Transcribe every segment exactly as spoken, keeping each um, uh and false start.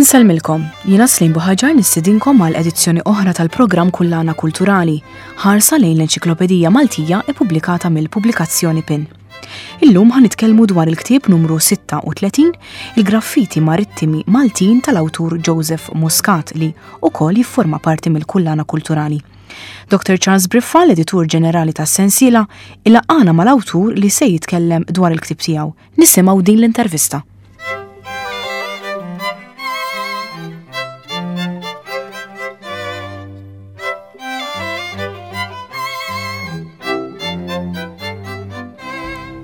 Insellmilkom, jiena Slim Buħaġar nistedinkom għal edizzjoni oħra tal-programm Kullana Kulturali, ħarsa lejn l-Enċiklopedija Maltija ippubblikata mill-pubblikazzjoni PIN. Illum ħa nitkellmu dwar il-ktieb numru sitta u tletin, il-graffiti marittimi Maltin tal-awtur Joseph Muscat, li ukoll jifforma parti mill-Kullana Kulturali. Doktor Charles Briffa, l-editur ġenerali tas-sensiela, ilaqqagħna mal-awtur li se jitkellem dwar il-ktieb tiegħu. Nisimgħu din l-intervista.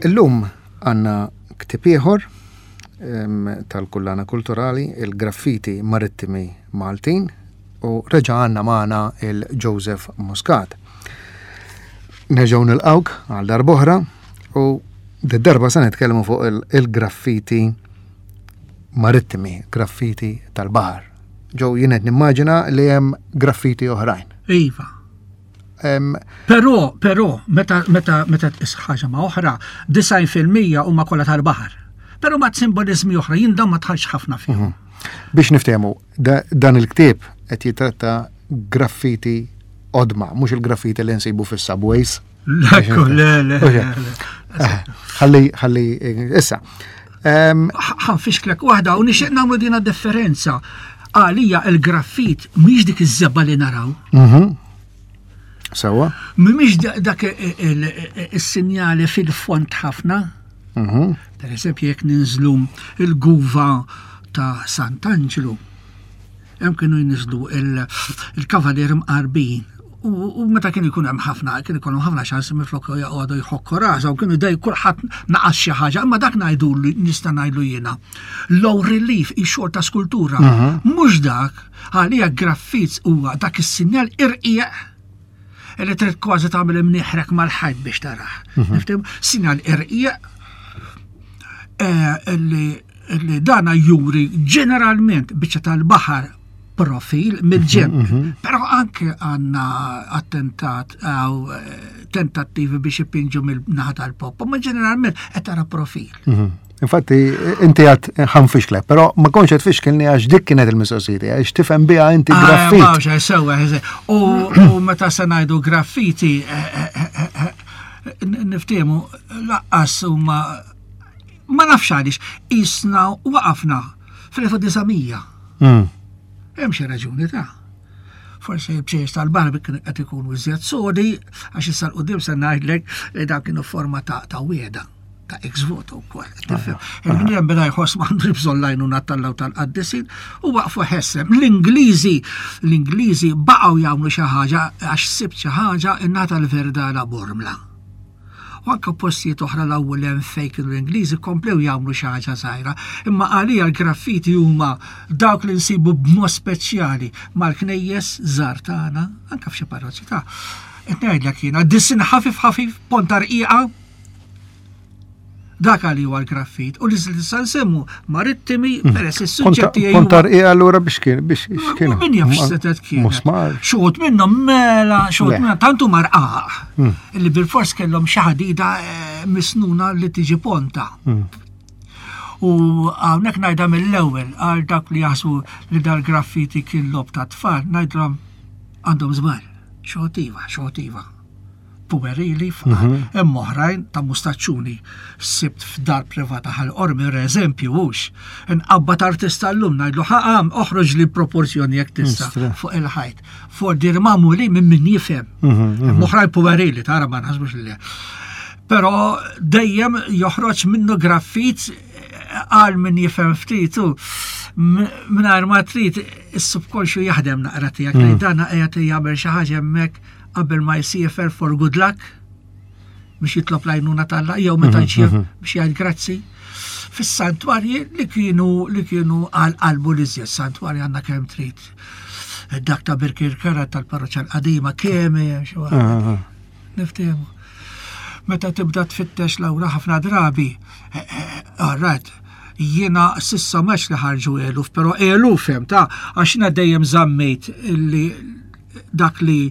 Illum għandna ktieb ieħor em, tal-Kullana Kulturali, il-graffiti marittimi Maltin, u reġa' għandna magħna il-Joseph Muscat. Nerġgħu nilqawk għal darb'oħra u d-darba se nitkellmu fuq il- il-graffiti marittimi, graffiti tal-baħar. Ġew jien qed nimmaġina li hemm graffiti oħrajn. Iva. Em, Però, però, meta, meta, meta tqis ħaġa ma' oħra, disgħin fil-mija huma kollha tal-baħar. Però ma' simbolizmi oħra, jien dan ma dħalx ħafna fihom. Biex niftehmu, da, dan il-ktieb qed jitratta graffiti qodma, mhux il-graffiti li nsibu fis-subways. Ekku, le, le, le, le. Eh, Ħalli, ħalli, issa. Em, Ħa nfixklek waħda u nixtieq nagħmlu dina differenza. Għalija il-graffit mhix dik iż-żebgħa li naraw. mhm. Sewa. Mhix da- dak il-sinjali fil-fond ħafna. Mhm. Per eżempju, jekk ninżlu il-guva ta' Sant'Angelo, hemm kienu jniżlu il- il-kavalier mqarbin. U u meta kien ikun hemm ħafna, kien ikun ħafna ċans minflok joqogħdu jħokku rasa u kienu dej kulħadd naqas xi ħaġa, imma dak ngħidu li nista' ngħidlu jiena. Low relief, ix-xogħol ta' skultura. Mhux dak, għalija graffits huwa dak is-sinjal irqiq li trid kważi tagħmel imnieħrek mal-ħajt biex tarah. Nifhem? Sinjal irqiq eh, li li dana juri ġeneralment biċċa tal-baħar, profil mill-ġenb. Però anke għandna attentat għaw eh, tentattivi biex ipinġu mill-naħa tal-poppa, ma ġeneralment qed tara profil. Mhm. Infatti, inti għedt ħa nfixklek, però ma kontx qed tfixkilni għax dik kienet il-mistoqsija, għax tifhem biha inti Ah, graffit. ma, sewa, U u meta se ngħidu graffiti, eh, eh, eh, eh, niftehmu lanqas huma ma nafx għaliex isna waqafna fl-elf u disa' mija. Mm. Hemm xi raġuni ta' forsi l-bċejjeċ tal-barbi kienu qed ikunu iżjed sodi, għax issa 'l quddiem se ngħidlek li dak kienu forma ta' ta' wieda ta' ex voto wkoll. Tifhem? Il-bniedem beda jħoss m'għandu bżonn l-għajnuna t'Alla u tal-qaddisin u waqfu ħesrem. L-Ingliżi, l-Ingliżi baqgħu jagħmlu xi ħaġa għax sibt xi ħaġa innata l-Verdala Bormla. U anke postijiet oħra l-ewwel hemm fejn kienu l-Ingliżi komplew jagħmlu xi ħaġa żgħira. Imma għalija l-graffiti huma dawk li nsibu b'mod speċjali mal-knejjes żgħar tagħna, anke f'xi parroċċi ta' qed ngħidlek jiena, disin ħafif ħafif, ponta rqiqa. Dak għali huwa l-graffit. U li issa nsemmu marittimi peress is-suġġetti Ponta rqiqa allura biex kien, biex x'kienu? Min jaf x'setet kienet. Musmar. Xogħod minnhom mela, xogħod Le. minnhom tantu marqaq. Illi bil-fors kellhom xi ħadida eh, misnuna li tiġi ponta. U hawnhekk ngħidha mill-ewwel għal dak li jaħsbu li dal-graffiti kien logħob ta' tfal, ngħidlhom għandhom żball. Xogħod iva, xogħod iva. Puerili, hemm oħrajn ta' mustaċċuni. Sibt f'dar privata Ħal Qormi, per eżempju, hux. Nqabbad artista llum ngħidlu ħaqam oħroġ li proporzjoni jekk tista' Mistra. fuq il-ħajt. For dir magħmuli minn min jifhem. Hemm oħrajn puerili, tara ma naħsbux li. Però dejjem joħroġ minnu graffit għal min jifhem ftit u mingħajr ma trid is-subkonxju jaħdem naqra tiegħek li dana qiegħed jagħmel xi ħaġa hemmhekk qabel ma jsiefer for good luck biex jitlob l-għajnuna t'Alla jew meta jċiev biex jgħid grazzi. Fis-santwarji li kienu li kienu għal qalbu li żjed santwarji għandna kemm trid. Dak ta' Birkirkara tal-parroċċa l-qadima kemm hemm xi waħda. Niftehmu. Meta tibda tfittex lawra ħafna drabi, alright, jiena s'issa mhux li ħarġu eluf, però eluf hemm ta' għax jiena dejjem żammejt li dak li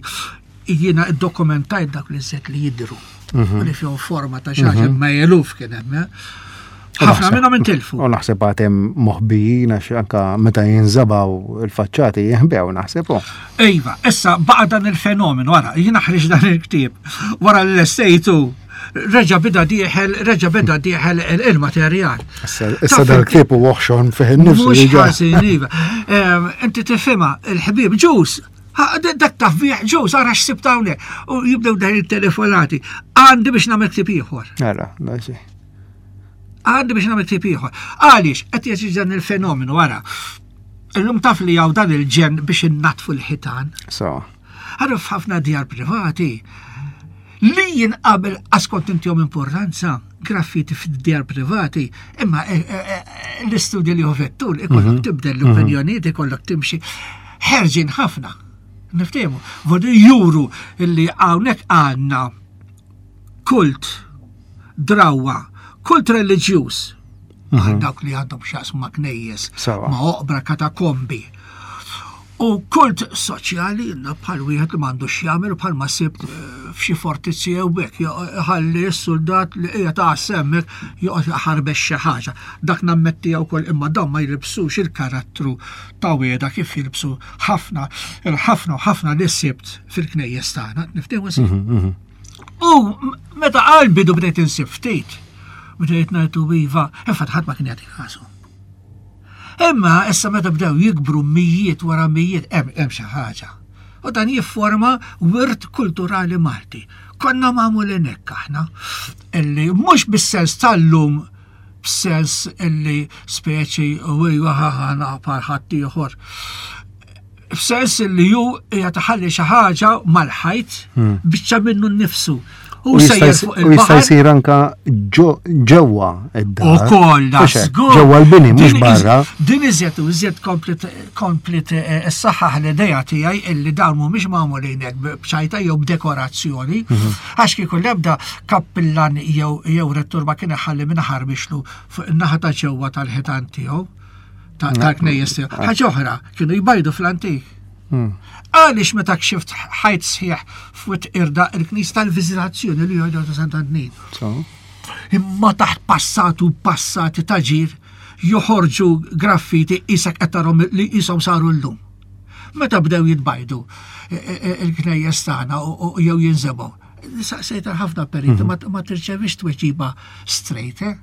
jiena iddokumentajt dak li żed li jidru. Li fihom forma ta' xi ħaġa ma eluf kien hemm. Eh? Ħafna minnhom intilfu. U naħseb għad hemm moħbijin għax anka meta jinżebgħu il-faċċati jinħbew naħseb. Iva, issa baqa dan il-fenomenu, wara, jiena ħriġt dan il-ktieb, wara l-lestejtu, reġa bida dieħel, reġa beda dieħel il-materjal. Issa dal-ktieb u oħxon fih innifsu. Mhux ħażin, iva. Inti tifhimha, il-ħbieb ġus, dak taf bih ġus, ara x'sibt hawnhekk. U jibdew dan il-telefonati. Għandi biex nagħmel ktieb ieħor. Ara, daġi. Għandi biex nagħmel ktieb ieħor. Għaliex qed jeżiġi dan il-fenomenu wara. Illum taf li hawn dan il-ġen biex innatfu l-ħitan. So. Għarru f'ħafna djar privati li jien qabel askont intihom importanza graffiti fid-djar privati, imma eh, eh, eh, l-istudji li hu ikollok tibdel l-opinjonijiet, ikollok timxi ħerġin ħafna. Niftehmu, vodu juru illi hawnhekk għandna kult drawa, kult reliġjuż, għal dawk li għandhom x'jaqsmu ma' knejjes, ma' oqbra katakombi. U kult soċjali inna bħal wieħed li m'għandu x'jagħmel bħal ma sibt f'xi fortizzi jew hekk, ħalli s-soldat li qiegħed ta' semmek joqgħod jaħarbex xi ħaġa. Dak nammetti wkoll imma dawn ma jilbsux il-karattru ta' wieda kif jilbsu ħafna il-ħafna u ħafna li sibt fil-knejjes tagħna, niftehmu si. U meta qal bidu bdejt insib ftit, bdejt ngħidu iva, infatti ħadd ma kien jagħti kasu. Imma issa meta bdew jikbru mijiet wara mijiet hemm hemm xi ħaġa. U dan jifforma wirt kulturali Malti. Konna magħmulin hekk aħna, illi mhux bis-sens tal-lum b'sens illi speċi u iva ħana bħal ħadd ieħor. F'sens illi ju qiegħed iħalli xi ħaġa mal-ħajt biċċa minnu nnifsu. U jista' jsir anka ġewwa id-dar. Ukoll da Ġewwa l-bini mhux barra. Din iżjed u iżjed komplet is-saħħaħ l-idea tiegħi illi dawn mhumiex magħmulin hekk b'ċajta jew b'dekorazzjoni, għax kieku l-ebda kappillan jew rettur ma kien iħalli minn ħarbixlu fuq in-naħa ta' ġewwa tal-ħitan tiegħu tal-knejjes tiegħu. Ħaġa oħra, kienu jbajdu fl-antik. Għaliex meta kxift ħajt sħiħ fuq irda il-knis tal-viżitazzjoni li jgħidu ta' Sant'Antnin. Imma taħt passatu passati ta' ġir joħorġu graffiti isak qed tarhom li qishom saru llum. Meta bdew jitbajdu il-knejjes tagħna jew jinżebgħu. Saqsejt ħafna periti ma tirċevix tweġiba straight, eh?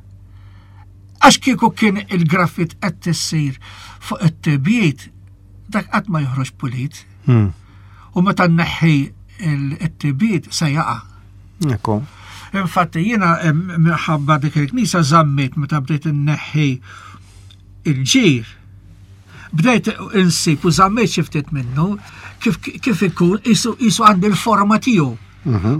Għax kieku kien il-graffit qed tissir fuq it-tibjiet, dak qatt ma joħroġ pulit. U meta nneħħi it-tibjiet se jaqa'. Ekku. Infatti jiena minħabba dik il-knisja żammit meta bdejt inneħħi il-ġir. Bdejt insib u żammejt xi ftit minnu kif, kif ikun isu, isu għandi l-forma tiegħu.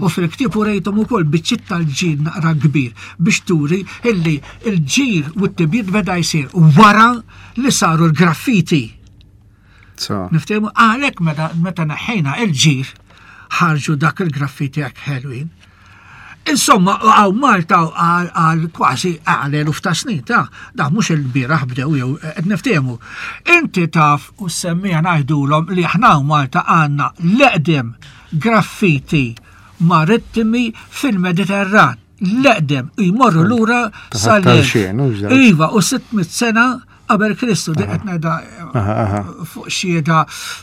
U fil-ktieb u rejthom ukoll biċċiet tal-ġir naqra kbir biex turi illi il-ġir u t-tibjiet beda jsir wara li saru l-graffiti. So. Niftehmu għalhekk meta, meta neħħejna il-ġir ħarġu dak il-graffiti hekk ħelwin. Insomma, għaw Malta għal għal kważi għal eluf ta' snin, ta' da mhux il-bieraħ bdew jew qed niftehmu. Inti taf u semmija ngħidulhom li aħna Malta għandna l-eqdem graffiti marittimi fil-Mediterran. L-eqdem jmorru lura Ta' sal tal-xien, u ġdar. Iva, u sitt mitt sena qabel Kristu, di qed ngħidha Aha, aha. fuq xhieda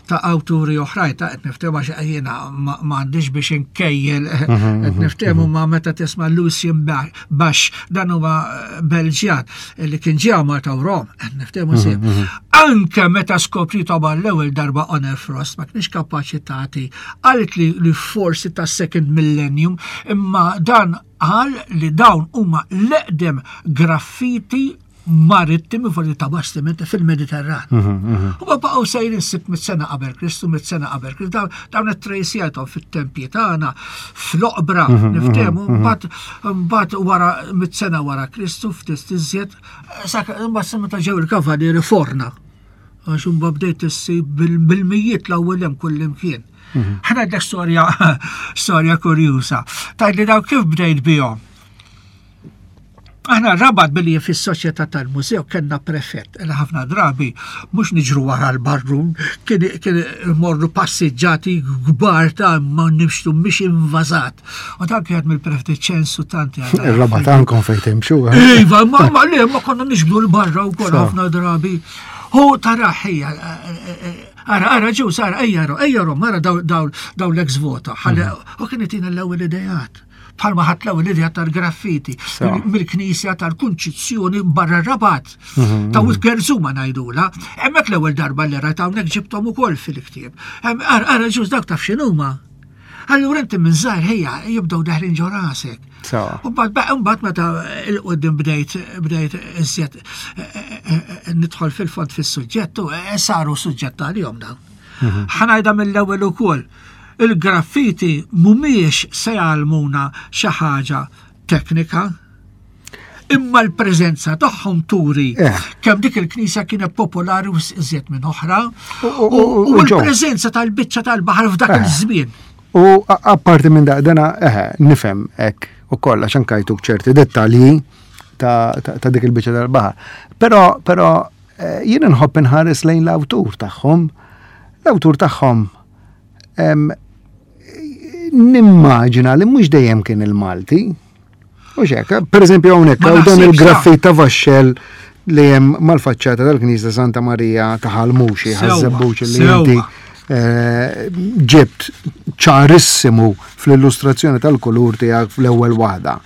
ta' awturi oħrajn ta' qed niftehmu għax jiena ma ma għandix biex inkejjel qed niftehmu ma meta tisma' Lucien Basch dan huwa Belġjan li kien ġie Malta u Rom, qed niftehmu sib. Anke meta skopritu għall-ewwel darba Honor Frost ma kienx kapaċi tagħti qalet li, li forsi ta' second millennium, imma dan qal li dawn huma l-eqdem graffiti marittimi fuq ta' bastimenti fil-Mediterran. U ma baqgħu sejrin sitt mitt sena qabel Kristu, mitt sena qabel Kristu, dawn, dawn it-trejsijajthom fit-tempji tagħna, fl-oqbra, niftehmu, mbagħad mbagħad wara mitt sena wara Kristu ftit iżjed, sak mbagħad meta ġew il-kavalieri forna. Għax imbagħad bdejt issib bil-, bil-mijiet l-ewwel hemm kullimkien. Ħa ngħidlek storja, storja kurjusa. Tgħidli daw kif bdejt bihom? Aħna Rabat billi fis-soċjetà tal-mużew kellna prefett li ħafna drabi mhux niġru wara l-barrun, kien kien morru passiġġati kbar ta' ma nimxtu mhix invażat. U dan kien mill-prefett ċensu tanti. Ir-Rabat għandkom fejn timxu. Eh? Iva, ma ma le ma konna niġbdu l-barra wkoll ħafna drabi. Hu taraħ Ara, ara, ġew, sara, ejja, ejja, mara daw l-ex voto. Mhm. U kien itina l-ewwel idejat bħalma ħadd l-ewwel idea tal-graffiti mill-Knisja tal-Kunċizzjoni barra Rabat. Mhm, ta' mhm. Gerzuma ngħidula. Hemmhekk l-ewwel darba li rajt hawnhekk ġibthom ukoll fil-ktieb. Ara ġuż dak taf x'inhuma. Allura inti minn żgħir ħejja jibdew daħlin ġo rasek. U mbagħad meta il-qudiem bdejt bdejt iżjed eh, eh, eh, nidħol fil-fond fis-suġġett u saru suġġett għalihom dawn. Mhm. Ħanajda mill-ewwel ukoll il-graffiti mhumiex se jgħallmuna xi ħaġa teknika, imma l-preżenza tagħhom turi eh. kemm dik il-knisja kienet popolari u iżjed minn oħra u l-preżenza tal-biċċa tal-baħar f'dak eh. il-żmien. U apparti minn dak dana eh, nifhem hekk ukoll għax anke jtuk ċerti dettalji ta' dik il-biċċa tal-baħar. Però però jien nħobb inħares lejn l-awtur tagħhom. L-awtur tagħhom nimmaġina li mhux dejjem kien il-Malti. U xek, per eżempju hawnhekk hawn dan il-graffit ta' vaxxel li hemm mal-faċċata tal-Knisja Santa Marija ta' Ħalmuxi, ħażebbuċi li inti eh, ġibt ċarissimu fl-illustrazzjoni tal-kulur tiegħek fl-ewwel waħda.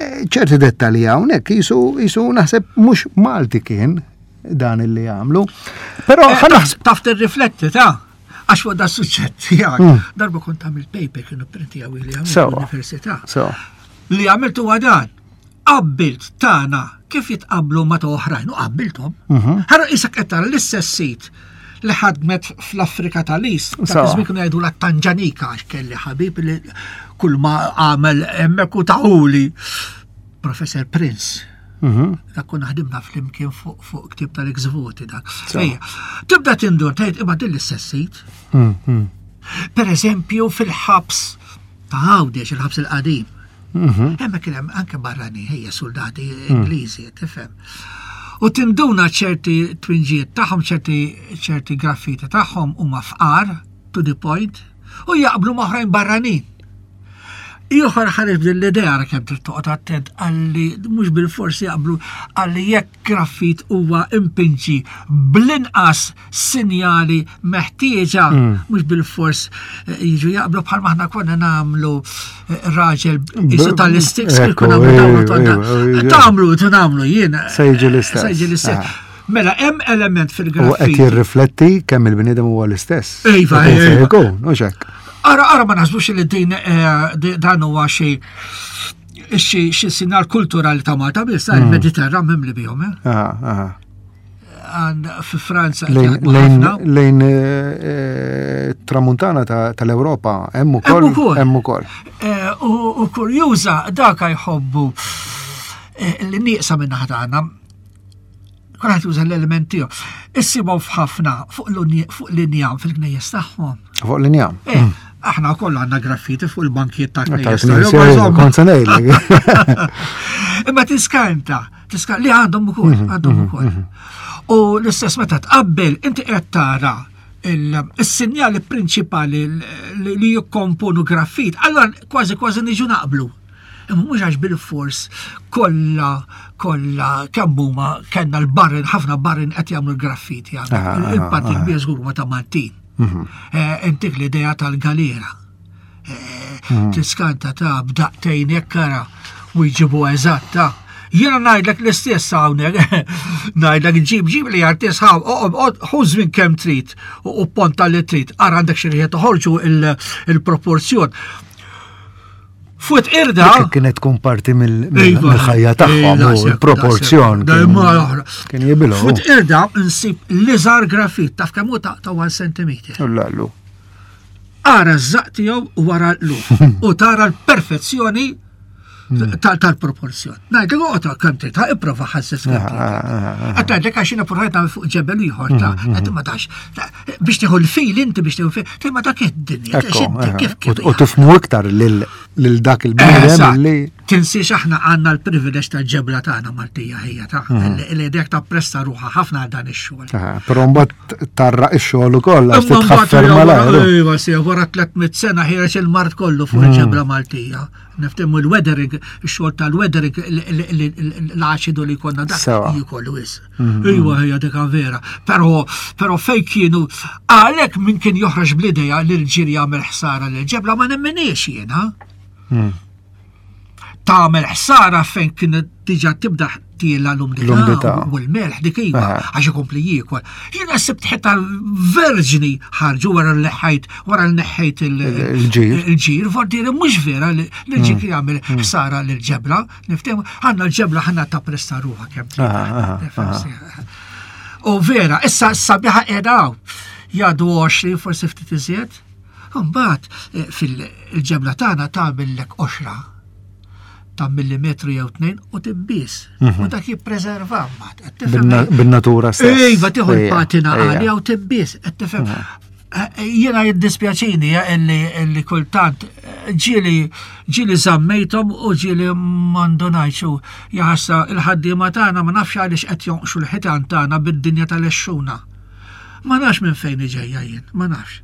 Eh, ċerti dettalji hawnhekk jisu jisu naħseb mhux Malti kien dan illi għamlu. Però eh, taf tirrifletti ta' Għax fuq da suġġett tiegħek, hmm. darba kont għamil paper kienu printi għawi li għamil l-università. Li għamiltu għadan, qabbilt tagħna kif jitqablu ma ta' oħrajn u qabbilthom. Mhm. Ħara isek qed tara l-istess sit li ħadmet fl-Afrika tal-Ist, ta' żmien kienu jgħidu la Tanġanika għax kelli ħabib li kull ma għamel hemmhekk u taħuli. Professor Prince. Mhm. Dak konna ħdimna flimkien fuq fuq ktib tal-ex-voti dak. Ejja, tibda tindur tgħid imma din l-istess sit. Mhm. Per eżempju fil-ħabs ta' Għawdex, il-ħabs il-qadim. Mhm. Hemmhekk kien hemm anke barrani, ħejja soldati Ingliżi, tifhem. U tinduna ċerti twinġiet tagħhom, ċerti ċerti graffiti tagħhom huma fqar to the point u jaqblu ma' oħrajn barranin. Ieħor ħareġ b'din l-idea ara kemm trid toqgħod attent għalli mhux bil-forsi jaqblu għalli jekk graffit huwa impinġi bl-inqas sinjali meħtieġa mm. mhux bil-fors eh, jiġu jaqblu bħal maħna konna nagħmlu eh, raġel isu tal-istiks kif konna nagħmlu tagħmlu nagħmlu jien. Se jiġi l-istess. Se jiġi l-istess. Ah. Mela, hemm element fil-graffiti. U qed jirrifletti kemm il-bniedem huwa l-istess. Iva, iva. Ikun, u hekk. Ara, ara ma naħsbux li din eh, dan huwa xi xi sinjal kulturali ta' Malta biss, mm. il-Mediterran mimli bihom. Eh? Fi Franza. Lejn eh, tramuntana tal-Ewropa hemm ukoll. Hemm ukoll. U kurjuża dak jħobbu li nieqsa minn tagħna kulħadd juża l-element tiegħu. Issibhom f'ħafna fuq l-injam fil-knejjes tagħhom. Fuq l-injam. Eh, mm. Aħna wkoll għandna graffiti fuq il-bankijiet ta' knejjes. Imma tiskanta, tiskanta li għandhom ukoll, mhm, għandhom mhm, ukoll. Mhm. U l-istess meta tqabbel inti qed tara il-sinjali prinċipali li jikkomponu graffit, allora kważi kważi niġu naqblu. Imma mhux għax bil-fors kollha kollha kemm huma kellna l-barrin ħafna barrin qed jagħmlu l-graffiti Il-parti kbir żgur huma ta' Maltin. Mhm. Eh, intik l-idea tal-galera. Eh, mhm. Tiskanta ta' b'daqtejn jekk ara u jġibu eżatta. Jiena ngħidlek l-istess hawnhekk, ngħidlek ġib ġib li artist ħaw, ħu żmien kemm trid u ponta li trid, ara għandek xi riħet toħorġu il-proporzjon. Fuq irda. Kienet tkun parti mill-ħajja tagħhom u l-proporzjon. Kien jibilgħu. Fuq irda nsib l-iżgħar grafit taf kemm hu ta' one centimeter. Lallu. Ara ż-żaq tiegħu wara l u tara l-perfezzjoni hmm. tal-proporzjon. Ngħidlek oqgħod kemm trid, ipprova ħasses kemm trid. Ah, ah, ah, Qed ngħidlek għax jiena provajt nagħmel fuq ġebel ieħor ta' hmm, hmm, qed ma tax biex tieħu l-fil inti biex tieħu fil, ma dak id-dinja. U tifmu iktar lil dak il-bniedem li. Tinsiex aħna għandna l-privileġġ tal-ġebla tagħna Maltija ħija ta' li dek tappressa ruħha ħafna għal dan ix-xogħol. Però mbagħad tarraq ix-xogħol ukoll għax titħaffer malajr. Iva, si wara tliet mitt sena ħiereġ il-mard kollu fuq il-ġebla Maltija. Niftehmu l-weathering, ix-xogħol tal-weathering, l-aċidu li konna dak jikollu is. Iva, hija dik vera. Però però fejn kienu għalhekk min kien joħroġ bl-idea li l-ġir jagħmel ħsara lill-ġebla ma nemminix jiena. Tagħmel ħsara fejn kien diġà tibda tiela l-umdità u l-melħ dik iva għax ikompli jiekol. Jiena sibt ħita verġni ħarġu wara li ħajt wara li neħħejt il-ġir. Il-ġir, vordieri mhux vera li l-ġir kien jagħmel ħsara lill-ġebla, niftehmu għandna l-ġebla ħanna tappressa ruħha kemm. U vera, issa sabiħa qiegħda hawn. Jgħaddu għoxrin forsi ftit iżjed. Mbagħad fil-ġebla tagħna tagħmellek qoxra ta' millimetru jew tnejn u tibbis. U dak jippreserva mbagħad. Bin-natura stess. Iva, tieħu l-patina għalija u tibbis, qed tifhem. Jiena jiddispjaċini illi kultant ġieli ġieli żammejthom u ġieli m'għandunajx u jaħassa il-ħaddiema tagħna ma nafx għaliex qed jonqxu l-ħitan tagħna bid-dinja tal-exxuna. Ma nafx minn fejn ġejja jien, ma nafx.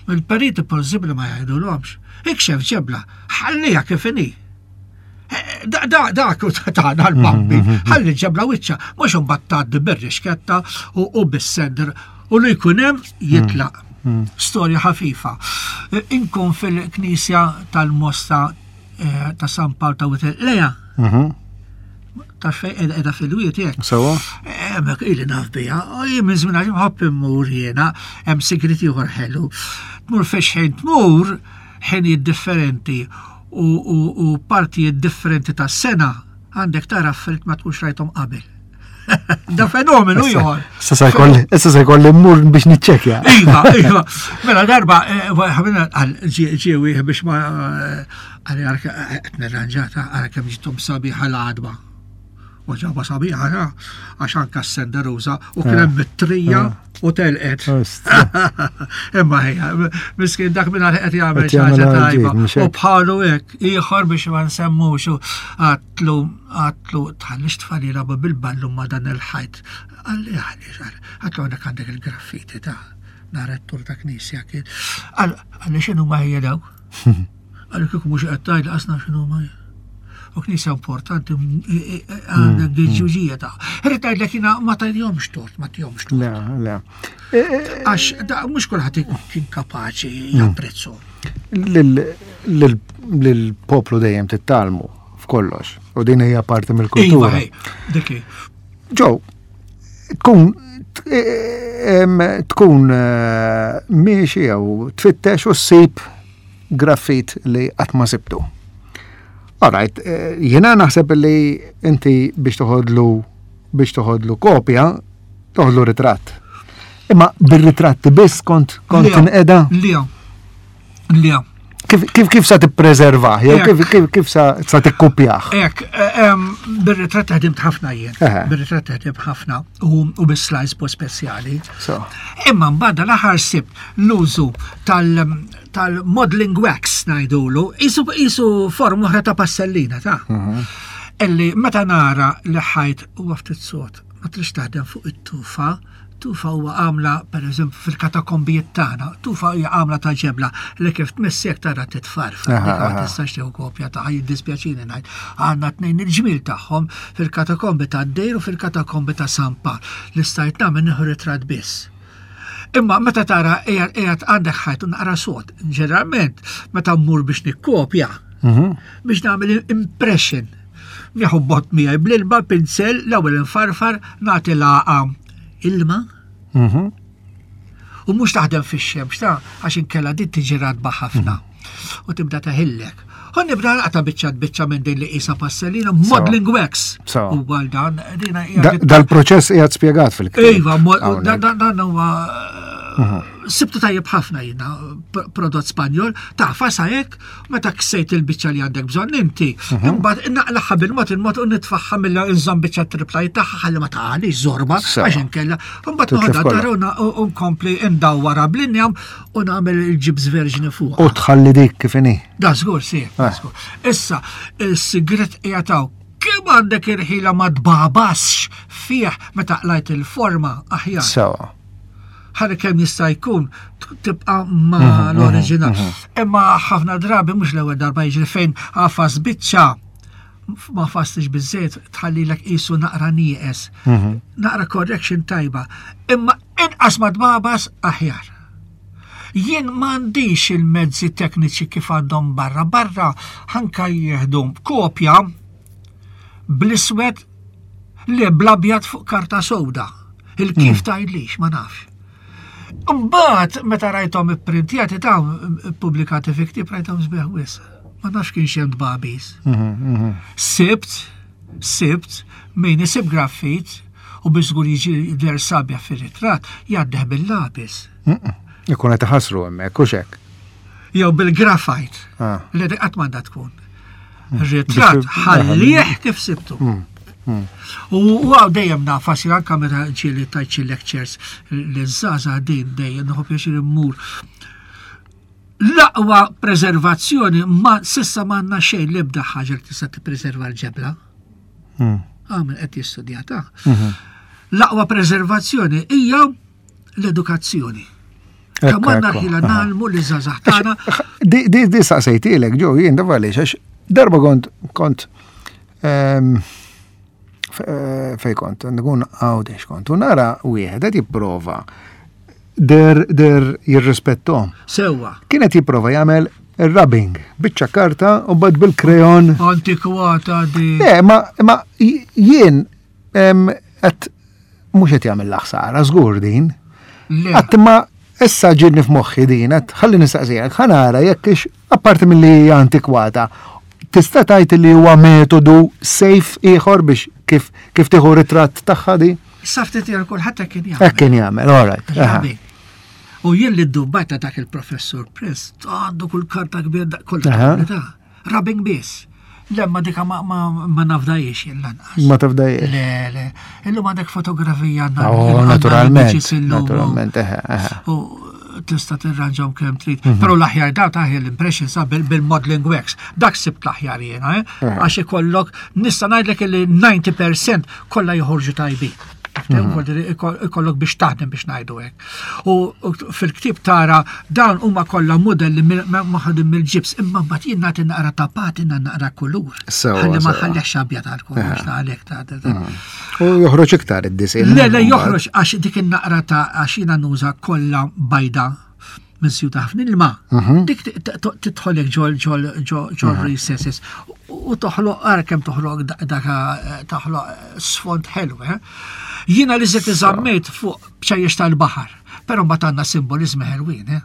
Il-periti possibbli ma jgħidulhomx. Ikxef ġebla, ħallija kif inhi. Dak u tagħna l-bambi, ħalli ġebla wiċċa, mhux imbagħad tgħaddi bir-rixketta u bis-sender u li jkun hemm jitlaq. Storja ħafifa. Inkun fil-knisja tal-Mosta ta' San Pawl ta' Witel Leja. Ta' fej edha fil-wiet jek. Sewa. Hemmhekk ili naf biha, jien minn żmien għax nħobb immur jiena, hemm sigrit ieħor ħelu. Tmur fejn ħin tmur, ħinijiet differenti u partijiet differenti tas-sena għandek tara affarijiet ma tkunx rajthom qabel. Da fenomenu ieħor. Issa se jkolli mmur biex niċċekkja. Iva, iva. Mela darba ħabina għal ġie wieħed biex ma għal qed nirranġata għal kemm ġiethom sabiħa l-għadba. U ġaba sabiħa għax anka s-senderuża u kien hemm it-trija u telqet. Imma ħejja, miskin dak minn qed jagħmel xi ħaġa tajba. U bħalu hekk ieħor biex ma nsemmux għatlu għatlu tħallix tfal jilagħbu bil-ballun ma' dan il-ħajt. Qalli għaliex, għatlu għandek għandek il-graffiti ta' nhar it-tur ta' knisja kien. Qalli x'inhu ma hija dawk? Qalli kieku mhux qed tgħid qasna x'inhu ma hija. U knisja importanti għandek ġuġija ta'. Irrid ngħidlek jiena ma tgħidhomx tort, ma tgħidhomx tort. Le, le. Għax mhux kulħadd kien kapaċi japprezzu. Lill-poplu dejjem tittalmu f'kollox u din hija parti mill-kultura. Iva, dik hi. Ġew, tkun tkun miexi jew tfittex u ssib graffit li qatt ma sibtu. All right, jiena naħseb li inti biex toħodlu biex toħodlu kopja, toħodlu ritratt. Imma bir-ritratti biss kont kont tinqeda? Le. Le. Kif kif kif sa tippreservah jew kif kif kif sa sa tikkupjah? Hekk, bir-ritratt ħdimt ħafna jien. Bir-ritratt ħdimt ħafna u bis-slice po speċjali. Imma mbagħad l-aħħar sibt l-użu tal tal-modeling wax ngħidulu, isu isu forma oħra ta' passellina ta'. Illi meta nara li ħajt huwa ftit sod, ma trix taħdem fuq it-tufa, tufa huwa għamla pereżempju fil-katakombijiet tagħna, tufa hija għamla ta' ġebla li kif tmissek tara titfarfar, ma tistax tieħu kopja ta' jiddispjaċini ngħid. Għandna tnejn il-ġmiel tagħhom fil-katakombi tad-Dejr u fil-katakombi ta' San Pawl li stajt nagħmel nieħu ritratt biss. Imma meta tara qiegħed għandek ħajt u naqra sod, ġeneralment meta mmur biex nikkopja, biex nagħmel impression. Nieħu bot miegħi bl-ilma pinsel, l-ewwel infarfar, nagħti laqa ilma. U mhux taħdem fix-xemx ta' għax inkella din tiġi radba ħafna. U tibda taħillek. U nibda naqta' biċċa biċċa minn din li qisha passellina, modeling wax. U għal dan, dina hija Dal-proċess qiegħed spjegat fil-ktieb. Iva, dan huwa Sibtu tajjeb ħafna jiena prodott Spanjol, tagħfas hekk, meta ksejt il-biċċa li għandek bżonn inti, imbagħad naqlaħħa bil-mod il-mod u nitfaħħa mill inżomm biċċa triplaj tagħha ħalli ma taqalix żorba għax inkella. Imbagħad noħodha dar u nkompli ndawwarha bl-injam u nagħmel il-ġibs verġni fuq. U tħalli dik kif inhi. Da żgur si, Issa, is-sigret qiegħed hawn. Kemm għandek irħila ma tbabasx fih meta qlajt il-forma aħjar. Sewa. Ħalli kemm jista' jkun tibqa' ma l-oriġinal. Imma ħafna drabi mhux l-ewwel darba jiġri fejn għafas biċċa ma fastix biżżejjed tħallilek qisu naqra nieqes. Naqra correction tajba. Imma inqas ma tbabas aħjar. Jien m'għandix il-mezzi tekniċi kif għandhom barra. Barra ħanka jieħdu kopja bl-iswed li bl-abjad fuq karta sewda. Il-kif tgħidlix, ma nafx. Mbagħad meta rajthom ipprintjati ta' ippubblikati fi ktieb rajthom sbieħ wisq. Ma nafx kienx hemm tbabis. Sibt, sibt min isib graffit u biex żgur jiġi der sabiħ fir-ritratt jgħaddih bil-lapis. Ikun qed iħassru hemmhekk u x'hekk. Jew bil-graphite. Li dik qatt m'għandha tkun. Ir-ritratt ħallih kif sibtu. U għaw dejjem nafas anka meta ġieli tajt xi lectures li żgħażagħ din dejjem nieħu pjaċir immur. L-aqwa preservazzjoni ma sissa m'għandna xejn l-ebda ħaġa li tista' tippreserva l-ġebla. Għamel qed jistudjata. L-aqwa preservazzjoni hija l-edukazzjoni. Kemm għandna ħila nagħlmu li żgħażagħ tagħna. Di di saqsejtilek ġew jien da għaliex għax darba kont kont fej kont, nkun Għawdex kont, u nara wieħed qed jipprova der der jirrispettom. Sewwa. Kienet jipprova jagħmel ir-rubbing, biċċa karta u bad bil-krejon. Antikwata di. Le, ma ma jien qed mhux qed jagħmel l-ħsara żgur din. Qatt ma issa ġidni f'moħħi din, qed ħalli nistaqsijak, ħa nara jekk ix apparti milli hija antikwata, tista' tgħid li huwa metodu safe ieħor biex kif kif tieħu ritratt tagħha di? Issa ftit jgħid kulħadd hekk kien jagħmel. Hekk kien jagħmel, all right. Rubbing. U jien li ddubbajta dak il-professur Press, għandu kull karta kbir, kull karta. Rubbing biss. Lemma dika ma, ma, ma nafdajiex jien lanqas. Ma tafdajiex. Le, le. Illum għandek fotografija għandna. Oh, naturalment. Naturalment, eħe, eħe. U tista' tirranġahom kemm trid. Però l-aħjar daw taħjar l-impression sa bil-modeling wax. Dak sibt l-aħjar jiena, eh? Għax ikollok, nista' ngħidlek li ninety percent kollha joħorġu tajbin. Ikollok biex taħdem biex ngħidu hekk. U fil-ktieb tara dawn huma kollha modelli maħdum mill-ġibs, imma mbagħad jien nagħti naqra ta' patina, naqra kulur. Ħalli ma ħallix abjad għal kollox ta' għalhekk ta' ta' ta'. U joħroġ iktar id-disinn. Le, le, joħroġ għax dik in-naqra ta' għax jiena nuża kollha bajda minn sju ta' ħafna ilma. Dik tidħolek ġol ġol ġol recesses u toħloq ara kemm toħloq dak toħloq sfond ħelu, eh? Jiena li żied iżammejt fuq bċajjex tal-baħar, però mbagħad għandna simbolizmi ħelwin, eh?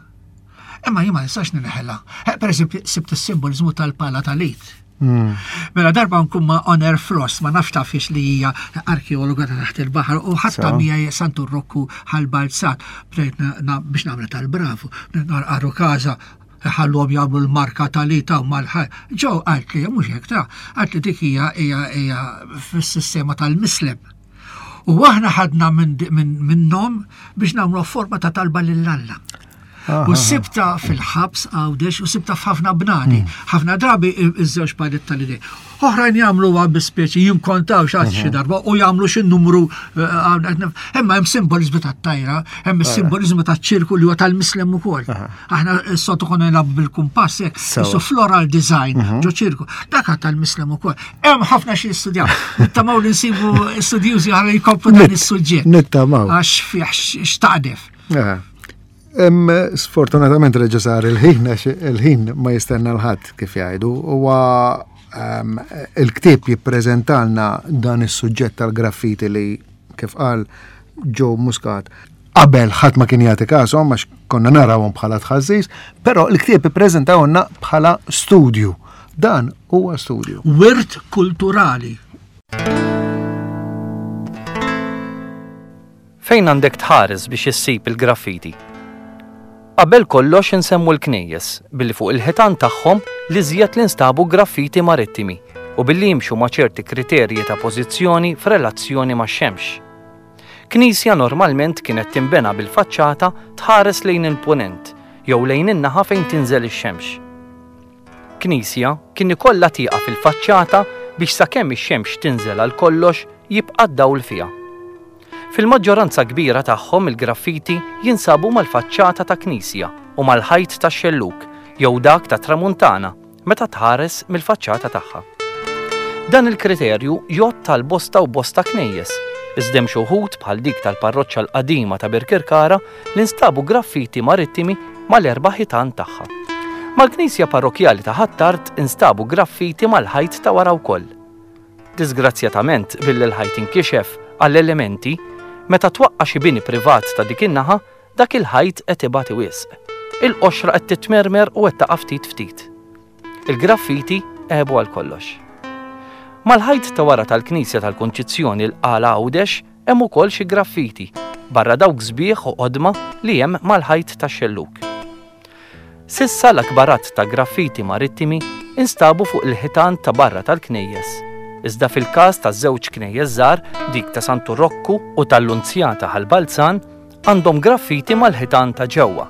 Imma jien ma nistax ninħela. Per eżempju, sibt is-simbolizmu tal-pala tal-id. Mela darba nkun ma' Honor Frost, ma nafx tafx li hija arkeologa ta' taħt il-baħar u ħatta miegħi Santu Rokku ħal-Balzat, bdejt biex nagħmel tal-bravu, narqaru każa ħallhom jagħmlu l-marka tal-ita u mal-ħaj. Ġew qalt li mhux hekk ta' qalt li dik hija hija hija fis-sistema tal-mislem. U aħna ħadna minnhom biex nagħmlu forma ta' talba lil Alla. U sibta fil-ħabs Għawdex u sibta f'ħafna bnadi. Ħafna drabi iż-żewġ palet tal-idej. Oħrajn jagħmluha bi speċi jinkontaw xi xi darba u jagħmlu xi numru, imma hemm simbolizmu tat-tajra, hemm is-simbolizmu taċ-ċirku li huwa tal-mislem ukoll. Aħna s-soltu konna nilagħbu bil-kumpass hekk, isu floral design ġo ċirku. Dak tal-mislem ukoll. Hemm ħafna xi jistudjaw. Nittamaw li nsibu studjużi ħalli jkomplu dan is-suġġett. Nittamaw. Għax fih x'taqdef. Em, sfortunatament reġa' sar il-ħin, għax il-ħin ma jistenna l-ħadd kif jgħidu. Huwa, em, il-ktieb jippreżentalna dan is-suġġett tal-graffiti li kif qal Joe Muscat qabel ħadd ma kien jagħti kashom għax konna narawhom bħala tħażżiż, però l-ktieb ippreżentawlna bħala studju. Dan huwa studju. Wirt kulturali. Fejn għandek tħares biex issib il-graffiti? Qabel kollox insemmu l-knejjes billi fuq il-ħitan tagħhom l-iżjed li nstabu graffiti marittimi u billi jimxu ma' ċerti kriterji ta' pożizzjoni f'relazzjoni max-xemx. Knisja normalment kienet tinbena bil-faċċata tħares lejn il-punent jew lejn in-naħa fejn tinżel ix-xemx. Knisja kien ikollha tieqa fil-faċċata biex sakemm ix-xemx tinżel għal kollox jibqa' d-dawl fiha. Fil-maġġoranza kbira tagħhom il-graffiti jinsabu mal-faċċata ta' knisja u mal-ħajt tax-xellug jew dak ta' tramuntana meta tħares mill-faċċata tagħha. Dan il-kriterju jgħodd għal bosta u bosta knejjes, iżda hemm xi wħud bħal dik tal-parroċċa l-qadima ta' Birkirkara li nstabu graffiti marittimi mal-erba' ħitan tagħha. Mal-knisja parrokkjali ta' Ħ'Attard instabu graffiti mal-ħajt ta' wara wkoll. Disgrazzjatament billi l-ħajt inkixef għall-elementi, meta twaqqa' xi bini privat ta' dik in-naħa, dak il-ħajt qed ibati wisq. Il-qoxra qed titmermer u qed taqa' ftit ftit. Il-graffiti għebu għal kollox. Mal-ħajt ta' wara tal-Knisja tal-Kunċizzjoni l-Qala Għawdex hemm ukoll xi graffiti, barra dawk sbieħ u qodma li hemm mal-ħajt tax-xellug. S'issa l-akbar għadd ta' graffiti marittimi instabu fuq il-ħitan ta' barra tal-knejjes. Iżda fil-każ ta' żewġ knejjes żgħar, dik ta' Santu Rokku u tal-Lunzjata Ħal-Balzan, għandhom graffiti mal-ħitan ta' ġewwa.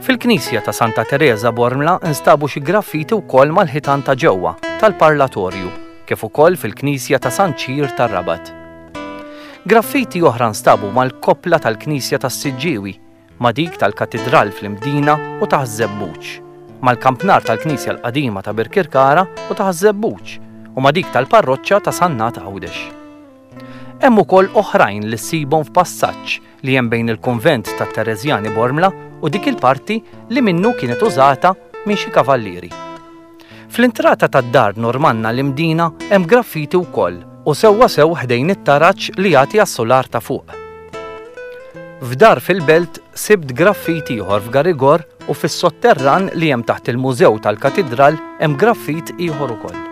Fil-Knisja ta' Santa Teresa Bormla instabu xi graffiti wkoll mal-ħitan ta' ġewwa tal-Parlatorju, kif ukoll fil-Knisja ta' San Ċir tar-Rabat. Graffiti oħra nstabu mal-koppla tal-Knisja tas-Siġġiewi, ma' dik tal-Katidral fl-Imdina u ta' Ħaż-Żebbuġ, mal-kampnar tal-Knisja l-Qadima ta' Birkirkara u ta' Ħaż-Żebbuġ, u ma' dik tal-Parroċċa ta' Sannat Għawdex. Hemm ukoll oħrajn li ssibhom f'passaġġ li hemm bejn il-kunvent tat-Tereżjani Bormla u dik il-parti li minnu kienet użata minn xi kavallieri. Fl-intrata tad-dar Normanna l-Imdina hemm graffiti wkoll u sewwa sew ħdejn it-taraġ li jagħti għas-solar ta' fuq. F'dar fil-belt sibt graffiti ieħor f'Garigor u fis-sotterran li hemm taħt il-Mużew tal-Katidral hemm graffit ieħor ukoll.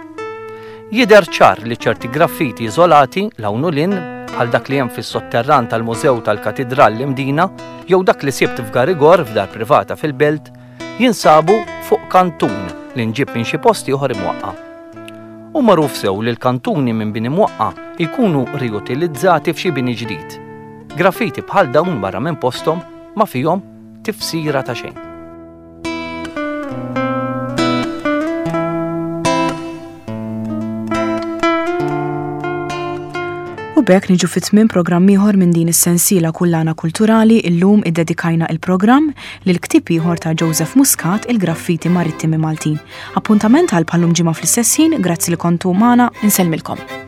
Jidher ċar li ċerti graffiti iżolati 'l hawn u 'l hinn bħal dak li hemm fis-sotterran tal-Mużew tal-Katidral l-Imdina jew dak li sibt f'Garigor f'dar privata fil-belt jinsabu fuq kantun li nġib minn xi post ieħor imwaqqa'. U magħruf sew li l-kantuni minn bini mwaqqa' jkunu riutilizzati f'xi bini ġdid. Graffiti bħal dawn barra minn posthom ma fihom tifsira ta' xejn. U b'hekk niġu fi tmiem programm ieħor minn din is-sensiela Kullana Kulturali. Illum iddedikajna il-programm lil ktieb ieħor ta' Joseph Muscat, Il-Graffiti Marittimi Maltin. Appuntament għal bħallum ġimgħa fl-istess ħin, grazzi li kontu magħna, insellmilkom.